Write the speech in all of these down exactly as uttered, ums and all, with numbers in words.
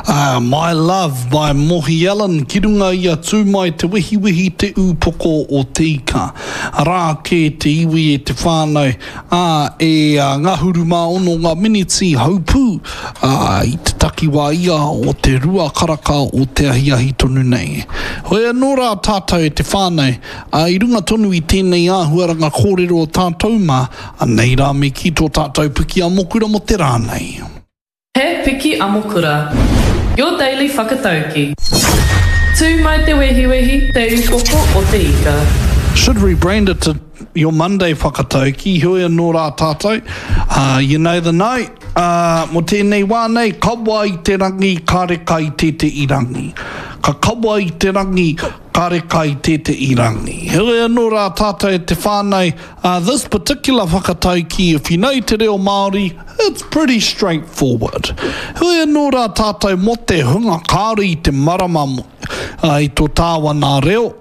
Uh, My Love by Mohi Allen ki runga i a tū mai te wehiwehi te ūpoko o te ika. Arā ke te iwi e te whānau, ā, e uh, ngahuru mā ono ngā miniti haupū uh, i te takiwā ia o te rua karaka o te ahiahi tonu nei. Hoi anō rā tātou e te whānau, uh, i runga tonu i tēnei āhuaranga kōrero o tātou mā, anei rā me ki tō tātou piki amokura mo te rā nei. He Piki Amokura. Your daily whakatauki. Tū mai te wehiwehi, te upoko o te ika. Should rebrand it to your Monday whakatauki, hoi anō rā tātou. Uh, you know the note, uh, mo tēnei wā nei, kawa i te rangi, kare kai te te i rangi. Ka kawa i te rangi, kare kai te te i rangi. Hoi anō rā tātou e te whānau, uh, this particular whakatauki, if you know te reo Māori, it's pretty straightforward. Hoi anō rā tātou mo te hunga kāre i te marama uh, i tō tāwana reo,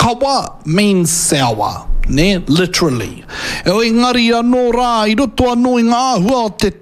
Kawa means sour, ne? Literally. E engari anō rā, i roto anō i ngā āhua o te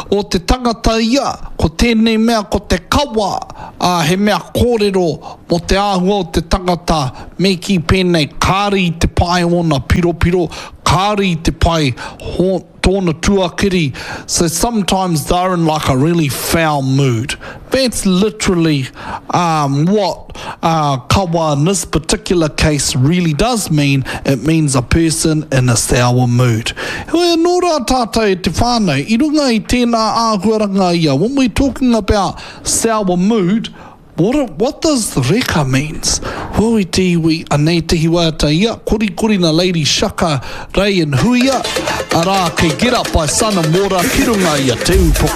o te tangata ia, ko tēnei mea ko te kawa, uh, he mea kōrero mo te āhua o te tangata, me ki pēnei kāre i te pai ōna piropiro, kāre i te pai ho, tōna tuakiri. So sometimes they're in like a really foul mood. That's literally um, what uh, kawa in this particular case really does mean. It means a person in a sour mood. Hoi anō rā tātou e te whānau, i runga i tēnā āhuaranga ia, when we're talking about sour mood, What, what does reka means? Hoi te iwi, anei te hiwata ia, kori kori na Lady Shaka, Ray and Huia, arā kei Get Up by Sun and Water, ki runga ia te upoko.